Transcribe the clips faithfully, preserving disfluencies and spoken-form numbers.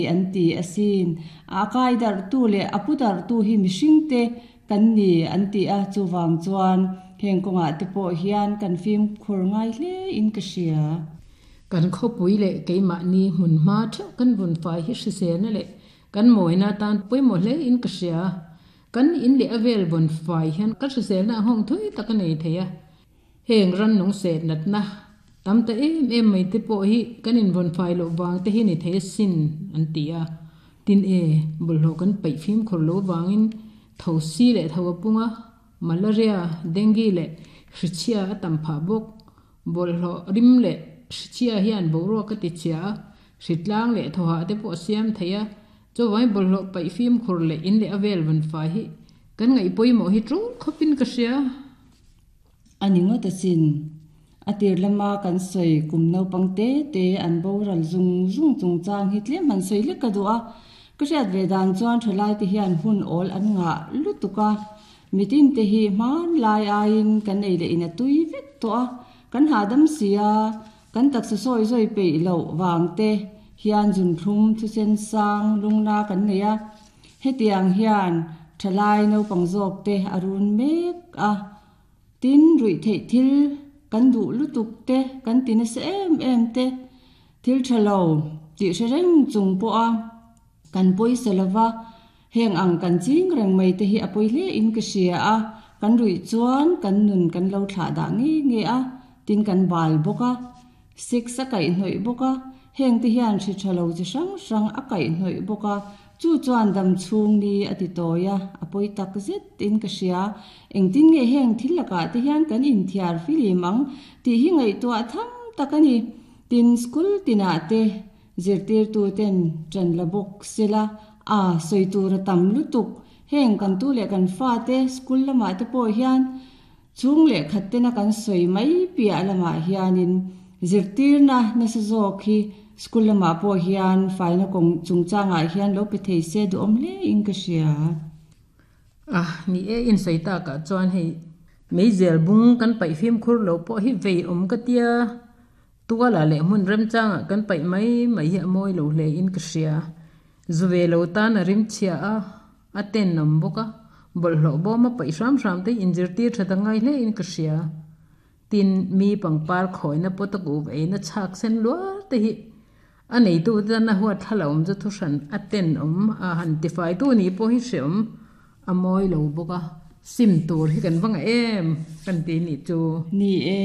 an ti asin. A kai darhtu leh a pu darhtu hi mihringte kan ni an ti a, chuvang chuan heng kawngah te pawh hian kan fimkhur ngai hle in ka hria. Kan khawpui leh keimahni hmunhma theuh kan vawn fai hi hriselna leh kan mawina atan pawimawh hle in ka hria. Kan in leh a vel vawn fai hian kan hriselna a nghawng thui tak a nei thei a. Heng rannung seh natna tam ta em em mai te pawh hi kan invawn fai loh vang te hi ni thei asin an ti a. Tin e, bawlhhlawh kan paih fimkhur loh vangin tho si leh tho a pung a, malaria, dengue leh hrichhia a tam phah bawk. Bawlhhlawh rim leh hrichhia hian boruak a ti chhia a, hritlang leh thawhah te pawh a siam thei a. Chuvangin bawlhhlawh paih fimkhur leh in leh a vel vawn fai hi kan ngaih pawimawh hi tul khawpin ka hria. A ni ngawt asin. A tir lama kan sawi kum naupang te te an boral zung zung chungchang hi tlem han sawi lek ka duh a. Ka hriat ve dan chuan thalai te hian hun awl an ngah lutuk a. Mitin te hi hmanlai aiin kan ei leh in a tui vek tawh a. Kan hahdam si a, kan taksa sawi zawi peih loh vang te hian zunthlum thusen sang lungna kan nei a. Hetiang hian thalai naupang zawk te a run mek a. Tin, ruih theih thil kan duh lutuk te, kan ti nasa em em te, thil tha lo tih hre reng chung pawh a kan pawisa lova, heng ang kan ching reng mai te hi a pawi hle in ka hria a, kan ruih chuan kan nun kan lo thlah dah nge nge a, tin kan bal bawk a, sex a kaihhnawih bawk a, heng te hian hri tha lo chi hrang hrang a kaihhnawih bawk a, chu chuan dam chhung ni a ti tawi a, a pawi tak zet in ka hria. Engtin nge heng thil lakah te hian kan inthiar filim ang tih hi ngaihtuah tham tak a ni. Tin, school tinah te zirtirtu ten ṭan la bawk sela, a sawi tur a tam lutuk. Heng kan tu leh kan fa te school lamah te pawh hian chhung leh khat tena kan sawi mai piah lamah hianin zirtirna nasa zawk hi school lamah pawh hian faina kawng chungchangah hian lo pe thei se duhawm hle in ka hria. A ni e, in sawi takah chuan hei meizel bung kan paih fimkhur lo pawh hi vei awm ka tia, tualah leh hmun remchangah kan paih mai mai hi a mawi lo hle in ka hria. Zu ve lo tan a rim chhia a, a tenawm bawk a, bawlhhlawh bawm a paih hram hram te inzirtir tha ta ngai hle in ka hria. Tin, mi pangpar khawina pawt a kuh eina chhak sen luar te hi a neitu te tan a huat thla awm chu thuhran a tenawm a han tifai tu ni pawh hi hreawm a mawi lo bawk a, sim tur hi kan va ngah em kan ti nih chu. Ni e,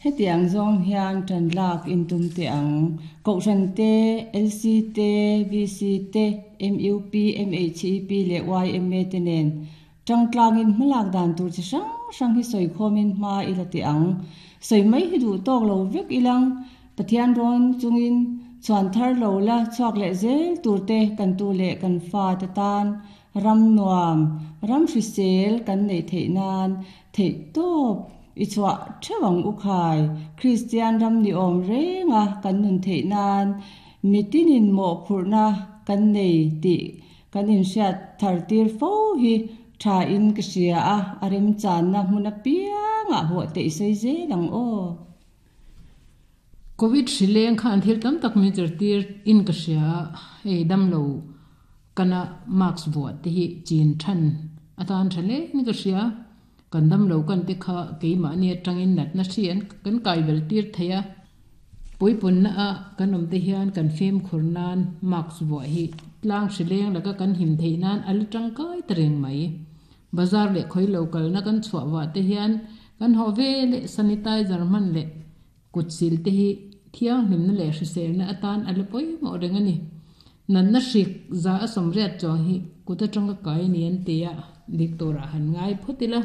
hetiang zawng hian tan lak in tum teh ang. Kohhran te, L C te, V C te, M U P, M H E P leh Y M A te nen tangtlangin hmalak dan tur chi hrang hrang hi sawi khawmin hma i la teh ang. Sawi mai hi duh tawk lo vek ilang Pathian rawn chungin chhuan thar lo la chhuak leh zel tur te kan tu leh kan fa te tan ram nuam, ram hrisel kan neih theih nan theih tawp i chhuah theuh ang u khai. Kristian ram ni awm renga kan nun theih nan mitinin mawhphurhna kan nei tih kan inhriat thar tir fo hi tha in ka hria a, a remchanna hmun apiangah hawh te i sawi zel ang aw. Covid hrileng khan thil tam tak min zirtir in ka hria a, hei damlo kana mask vuah te hi chin than atan tha hle in ka hria. Kan damlo kan te kha keimahni atangin natna hri an kan kai bel tir thei a. Puipunna a kan awm te hian kan fimkhur nan mask vuah hi tlang hrileng laka kan him theih nan a la tangkai ta reng mai. Bazar leh khawi lo kalna kan chhuah vah te hian kan haw ve leh sanitizer hman leh kut sil te hi thianghlimna leh hriselna atan a la pawimawh reng a ni. Natna hrik za a sawmriat chuang hi kut atanga kai ni an ti a, dik turah han ngai phawt ila.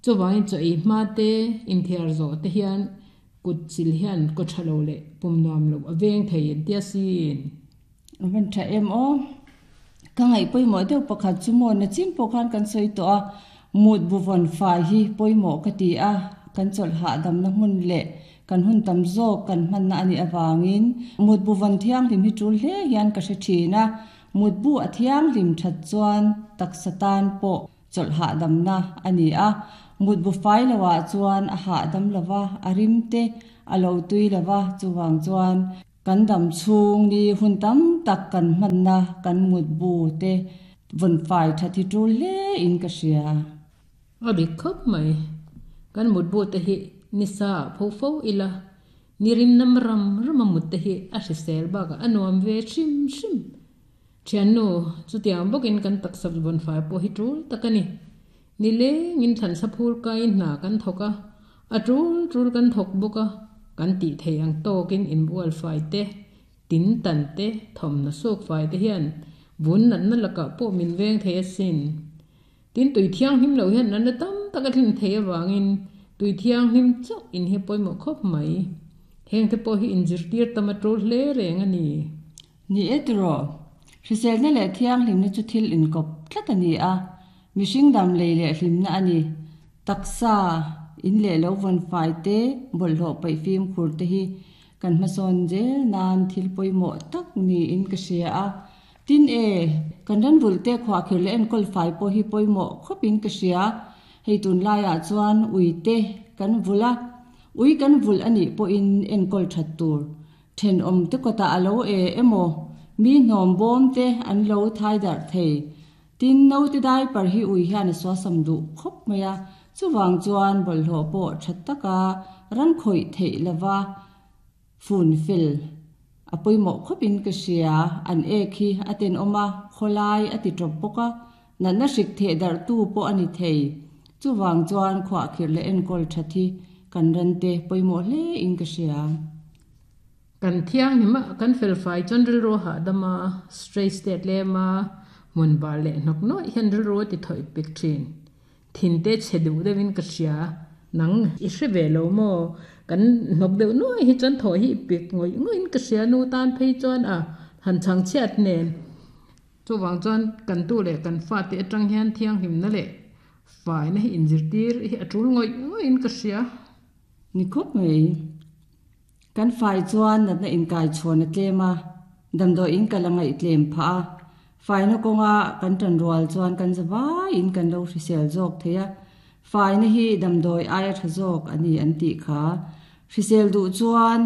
Chuvangin chaw ei hma te inthiar zawh te hian kut sil hian kaw tha lo leh pum nuam lo a veng thei an tia sin. A van tha em aw. Ka ngaih pawimawh deuh pakhat chu maw nachin pawh khan kan sawi tawh a, mut bu vawn fai hi pawimawh ka ti a, kan chawlh hahdamna hmun leh kan hun tam zawk kan hmanna a nih avangin mut bu vawn thianghlim hi tul hle hian ka hre thin a, mut bu a thianghlim that chuan taksa tan pawh chawlh hahdamna a ni a, mut bu fai lohah chuan a hahdam lova, a rim te a lo tui lova, chuvang chuan Kan dam chhung ni hun tam tak kan hmanna kan mutbu te vawn fai that hi tul hle in ka hria. A dik khawp mai. Kan mutbu te hi nisa ah pho fo ila, ni rim nam ram ram a mut te hi a hrisel bakah a nuam ve hrim hrim. Thiannu, chutiang bawkin kan taksa vawn fai pawh hi tul tak a ni. Nilengin thlansa phur kaiin hna kan thawk a, a tul tul kan thawk bawk a, kan tih theih ang tawkin inbual fai te, tin tan te, thawmhnaw suk fai te hian vun natna lakah pawh min veng thei asin. Tin, tui thianghlim loh hian natna tam tak a thlin thei avangin tui thianghlim chauh in hi pawimawh khawp mai. Heng te pawh hi inzirtir tam a tul hle reng a ni. Ni e tiraw, hriselna leh thianghlimna chu thil inkawp tlat a ni a, mihring dam lei leh hlimna a ni. Taksa, in leh lo vawn fai te, bawlhhlawh paih fimkhur te hi kan hmasawn zel nan thil pawimawh tak niin ka hria a. Tin e, kan ran vulh te khuahkhir leh enkawl fai pawh hi pawimawh khawpin ka hria. Hei tunlaiah chuan ui te kan vulh a, ui kan vulh a nih pawhin enkawl that tur. Thenawm te kawtah a lo e emaw, mi hnawm bawm te an lo thai darh thei. Tin, naute diaper hi ui hian a suasam duh khawp mai a, chuvang chuan bawlhhlawh pawh tha taka ran khawih theih lova fun fel a pawimawh khawpin ka hria. An ek hi a tenawm a, khawlai a ti tawp bawk a, natna hrik theh darhtu pawh a ni thei. Chuvang chuan khuahkhirh leh enkawl that hi kan rante pawimawh hle in ka hria. Kan thianghlim a, kan fel fai chuan rilru a hahdam a, stress te a tlem a, hmun bar leh hnawk nuaih hian rilru a ti thawih pek thin. Thin te chhe duh deuhin ka hria. Nang i hre ve lo maw? Kan hnawk deuh nuaih hi chuan thaw hi i pek ngawih ngawih in ka hria nu tan phei chuan a han chhang chhiat nen. Chuvang chuan kan tu leh kan fate atang hian thianghlimna leh faina hi inzirtir hi a tul ngawih ngawih in ka hria. Ni khawp mai. Kan fai chuan natna inkai chhawn a tlem a, damdawiin kal a ngaih tlem phah a. Faina kawnga kan tan rual chuan kan za vaiin kan lo hrisel zawk thei a. Faina hi damdawi aia tha zawk a ni an tih kha. Hrisel duh chuan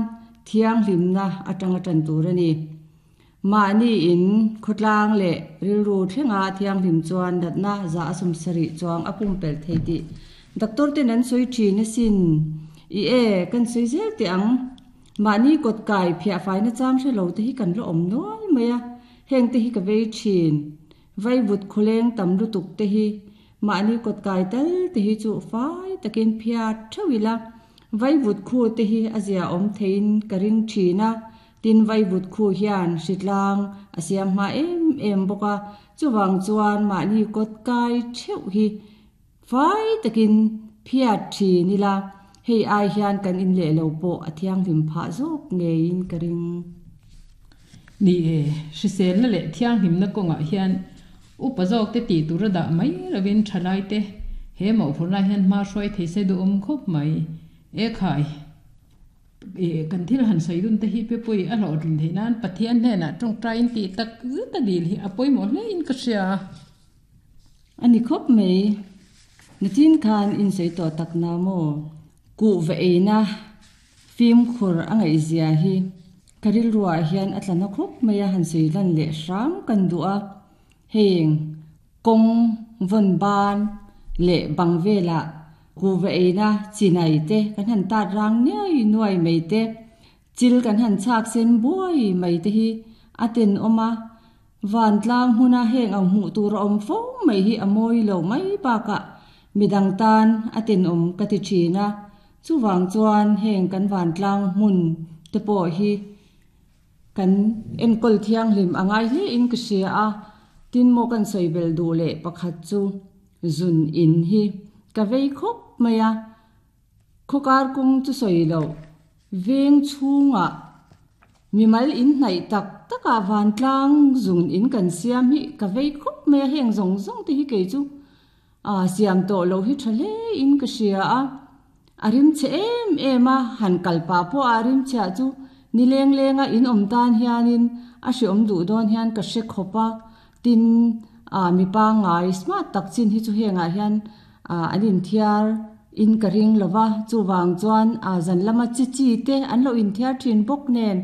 thianghlimna atanga tan tur a ni. Mahni in khawtlang leh rilru thlenga thianghlim chuan natna za a sawm sarih chuang a pumpelh thei tih doctor ten an sawi thin asin. I e, kan sawi zel teh ang. Mahni kawt kai phiah faina chang hre lo te hi kan la awm nual mai a, heng te hi ka vei thin. Vaivut khawleng tam lutuk te hi mahni kawt kai tal te hi chu fai takin phiat theuh ila, vaivut khu te hi a zia awm theiin ka ring thin a. Tin, vaivut khu hian hritlang a siam hma em em bawk a, chuvang chuan mahni kawt kai theuh hi fai takin phiat thin ila, hei ai hian kan in leh lo pawh a thianghlim phah zawk ngeiin ka ring. Ni e, hriselna leh thianghlimna kawngah hian upa zawk te tih tur a dah mai lovin thalai te he mawhphurhna hian hma hruai thei se duhawm khawp mai. E khai, e kan thil han sawi dun te hi pe pawi a hlawhtlin theih nan Pathian hnenah tawngtaiin tih tak zet a dil hi a pawimawh hle in ka hria. A ni khawp mai. Nachin khan in sawi tawh tak na maw? Kuhva eina fimkhur a ngaihzia hi ka rilruah hian a tla na khawp mai a, han sawi lan leh hram kan duh a. Heng kawng vawn ban leh bang velah kuhva eina chinai te kan han tat rang nuai nuai mai te, chil kan han chhak sen buai mai te hi a tenawm a. Vantlang hmuna heng ang hmuh tur a awm fo mai hi a mawi lo mai bakah midang tan a tenawm ka ti thin a. Chuvang chuan heng kan vantlang hmun te pawh hi kan enkawl thianghlim a ngai hle in ka hria a. Tin maw kan sawi bel duh leh pakhat chu zun in hi ka vei khawp mai a. Khawkar kawng chu sawi loh veng chhungah mimal in hnaih tak takah vantlang zun in kan siam hi ka vei khawp mai a. Heng zawng zawng te hi kei chu a siam tawh loh hi tha hle in ka hria a. A rim chhe em em a, han kal pah pawh a rim chhiah chu ni leng lenga in awm tan hianin a hreawm duh dawn hian ka hre khawp a. Tin, a mi pangngai smart tak chin hi chu hengah hian an inthiar in ka ring lo va, chuvang chuan a zan lama chi chi te an lo inthiar thin bawk nen.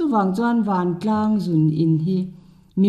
Chuvang chuan vantlang zun in hi